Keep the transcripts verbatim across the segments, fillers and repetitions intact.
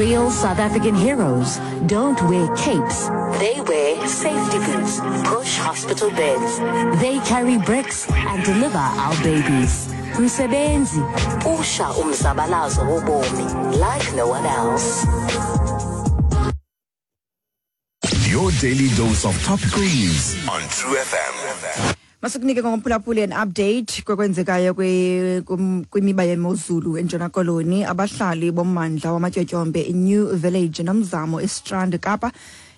Real South African heroes don't wear capes. They wear safety boots, push hospital beds. They carry bricks and deliver our babies. Msebenzi, usha umzabalazo wobomi like no one else. Your daily dose of topical news on True F M. Masikunike ngomphulaphuli an update kokwenzekayo kwimiba yemozulu eNtshona Koloni. Abahlali bommandla wamatyotyombe iNew Village Nomzamo eStrand Kapa,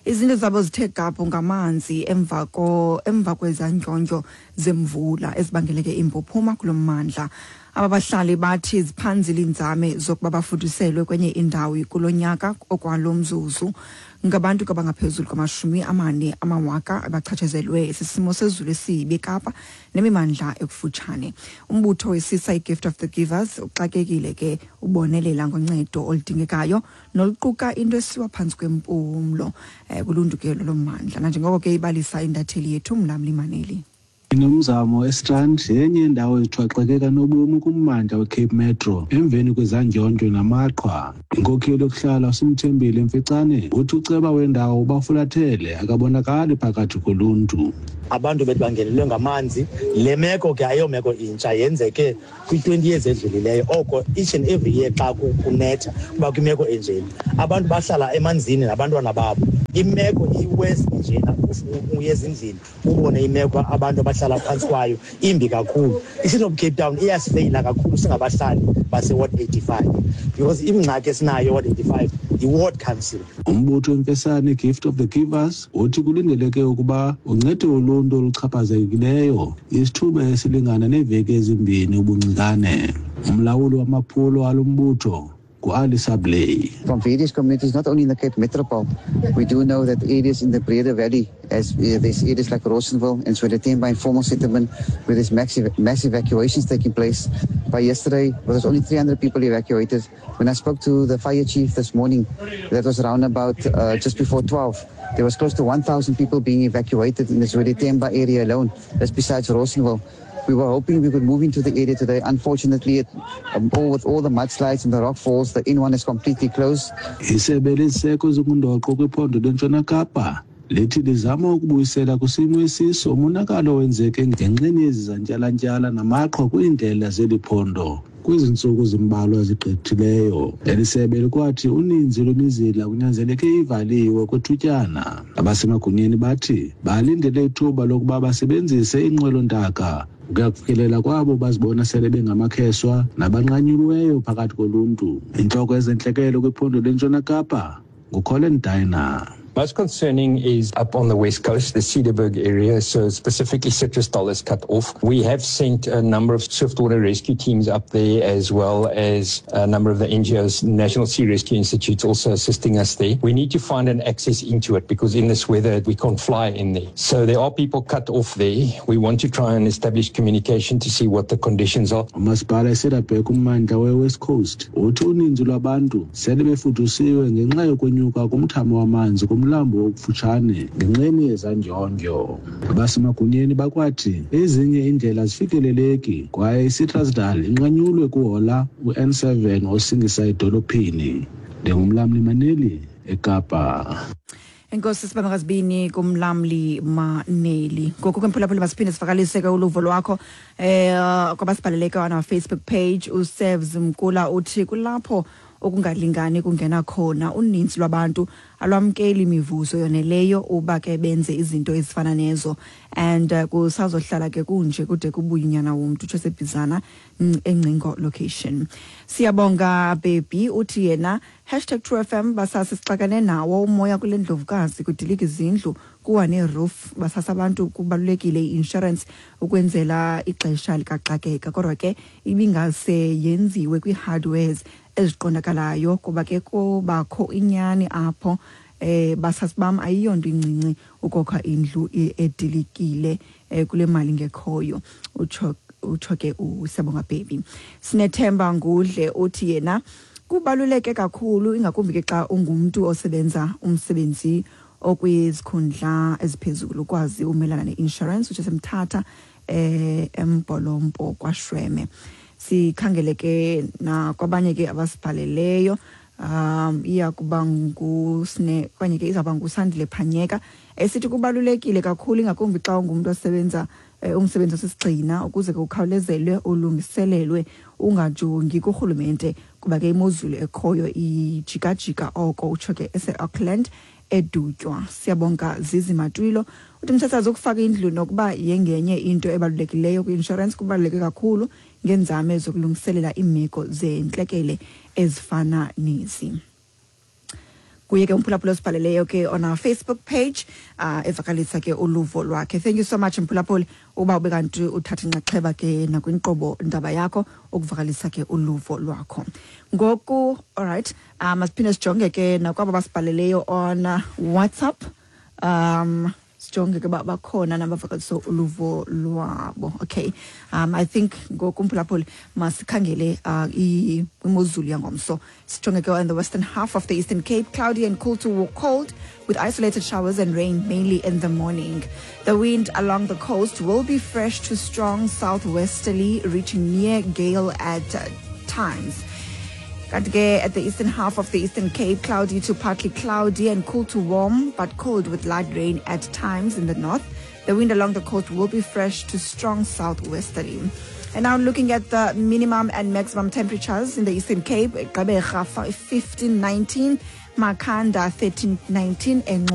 izindlu zabo zithe gabhu ngamanzi emva ko emva kwezandyondyo zemvula ezibangeleke impuphuma kulo mmandla. Aba bahlali bathi ziphanzile iinzame zokuba bafuduselwe kwenye indawo kulo nyaka. Okwalo mzuzu ngabantu abangaphezulu kwamashumi amane amawaka abachatshazelwe sisimo sezulu esibi eKapa nemimandla ekufutshane. Umbutho wesisa iGift of the Givers uxakekile ke ubonelela ngoncedo oludingekayo noluquka into esiwa phantsi kwempumlo um kuluntu ke lolo mmandla, nanjengoko ke ibalisa intatheli yethu Mlamli Maneli. INomzamo eStrand yenye yendawo ezithwaxeke kanobomi kummandla weCape Metro emveni kwezandyondyo namaqhwa. Inkokheli yokuhlala uSimthembile Mfecane uthi uceba wendawo ubafulathele, akabonakali phakathi koluntu. Abantu bethu bangenelwe ngamanzi. Le meko ke ayomeko intsha, yenzeke kwi-twenty years edlulileyo. Oko each and every year xa kunetha kuba kwimeko enjeni, abantu bahlala emanzini nabantwana babo. Imeko iwesi njena, uye ezindlini ubone imeko abantu abahlala phantsi kwayo, imbi kakhulu. I-City of Cape Town iyasifeyila kakhulu singabahlali base-ward eighty-five because ingxaki esinayo ward eighty-five yi-ward council. Umbutho wemfesane Gift of the Givers uthi kulindeleke ukuba uncede uluntu oluchaphazekileyo isithuba esilingana neeveki ezimbini ubuncikane. Umlawuli wamaphulo alo mbutho ngu-Ali Sablay. From various communities, not only in the Cape Metropole, we do know that areas in the Breede Valley, as uh, there's areas like Rawsonville and Zwelethemba informal settlement, where there's massive, mass evacuations taking place. By yesterday, there was only three hundred people evacuated. When I spoke to the fire chief this morning, that was around about uh, just before twelve, there was close to one thousand people being evacuated in the Zwelethemba area alone. That's besides Rawsonville. We were hoping we could move into the area today. Unfortunately, it, um, all, with all the mudslides and the rock falls, the N one is completely closed. Isebe leziseko ezingundoqo kwiphondo leNtshona Kapa lithi lizama ukubuyisela kwisimo esiso umonakalo owenzeke ngenxeni yezi zantyalantyala namaqhwa kwiindlela zeli phondo kwezi ntsuku zimbalwa zigqithileyo. Eli sebe likwathi uninzi lwemizila kunyanzeleke ivaliwe kwethutyana. Abasemagunyeni bathi balindele ithuba lokuba basebenzise inqwelontaka ukuya kufikelela kwabo bazibona sele bengamakheswa nabanqanyulweyo phakathi koluntu. Intloko yezentlekele kwiphondo leNtshona Kapa nguColin Dyer. Most concerning is up on the west coast, the Cederberg area, so specifically Citrusdal is cut off. We have sent a number of swiftwater rescue teams up there, as well as a number of the N G Os, National Sea Rescue Institute, also assisting us there. We need to find an access into it because in this weather we can't fly in there. So there are people cut off there. We want to try and establish communication to see what the conditions are. Umasipala eCederberg kummandla we-West Coast uthi uninzi lwabantu sele befudusiwe ngenxa yokwenyuka kumthamo wamanzi kumlambo okufutshane ngenxeni yezandyondyo. Abasemagunyeni bakwathi ezinye iindlela zifikeleleki kwaye iCitrusdal inqanyulwe kuhola u-N seven osingisa edolophini. NdinguMlamli Maneli eKapa. Enkosi sibambakazibini kuMlamli Maneli. Ngoku ke mphulaphuli, masiphinde sivakalise ke uluvo lwakho eh kwabasibhaleleke on our Facebook page. UServes Mkula uthi kulapho okungalingani kungena khona, uninzi lwabantu alwamkeli imivuzo yoneleyo uba ke benze izinto ezifana nezo and uh, kusazohlala ke kunje kude kubuye unyana womntu, utsho sebhizana eNgcingo location. Siyabonga baby uthi yena hashtag True F M basase sixakane nawo umoya kule ndlovukazi, kudilika izindlu, kuwa neroof. Basasa abantu, kubalulekile i-insurance ukwenzela ixesha likaxakeka, kodwa ke ibingase yenziwe kwii-hardwares eziqondakalayo kuba ke kubakho inyani apho. eh basasibam ayiyonto incinci ukokha indlu edilikile eh kule mali ngekhoyo, utsho utsho ke uSiyabonga baby. Sinethemba Ngudle uthi yena kubaluleke kakhulu, ingakumbi ke xa ungumntu osebenza umsebenzi okwizikhundla eziphezulu, ukwazi umelana ne-insurance, utsho semthatha eh eMbolompo kwaShweme. Sikhangele ke nakwabanye ke abasibhaleleyo. um iya kuba ngusine okanye ke izawuba nguSandile Phanyeka, esithi kubalulekile kakhulu, ingakumbi xa ungumntu osebenza eh, umsebenzi osisigxina, ukuze ke ukhawulezelwe ulungiselelwe, ungajongi kurhulumente, kuba ke imozulu ekhoyo ijikajika oko. Utsho ke ese-Auckland eDutywa. Siyabonga Zizi Matwilo. Uthi msasazi, ukufaka indlu nokuba yengenye into ebalulekileyo kwi-inshorensi kubaluleke kakhulu ngeenzame zokulungiselela iimeko zentlekele ezifana nezi. Kuye ke umphulaphula osibhaleleyo ke on our Facebook page, uh, evakalisa ke uluvo lwakhe. Thank you so much, mphulaphuli, uba ube kanti uthatha inxaxheba ke nakwinkqubo Ndaba Yakho ukuvakalisa ke uluvo lwakho ngoku. Alright, um masiphinde sijonge ke nakwabo basibhaleleyo on uh, WhatsApp, um sijonge ke uba bakhona nabavakalisa uluvo lwabo. Okay, um I think ngoku, mphulaphuli, masikhangele uh, i- imozulu yangomso. Sijonge ke in the western half of the Eastern Cape, cloudy and cool to cold with isolated showers and rain, mainly in the morning. The wind along the coast will be fresh to strong southwesterly, reaching near gale at uh, times. Kanti ke at the eastern half of the Eastern Cape, cloudy to partly cloudy and cool to warm, but cold with light rain at times in the north. The wind along the coast will be fresh to strong southwesterly. And now looking at the minimum and maximum temperatures in the Eastern Cape, Gqeberha fifteen nineteen, Makhanda thirteen nineteen, and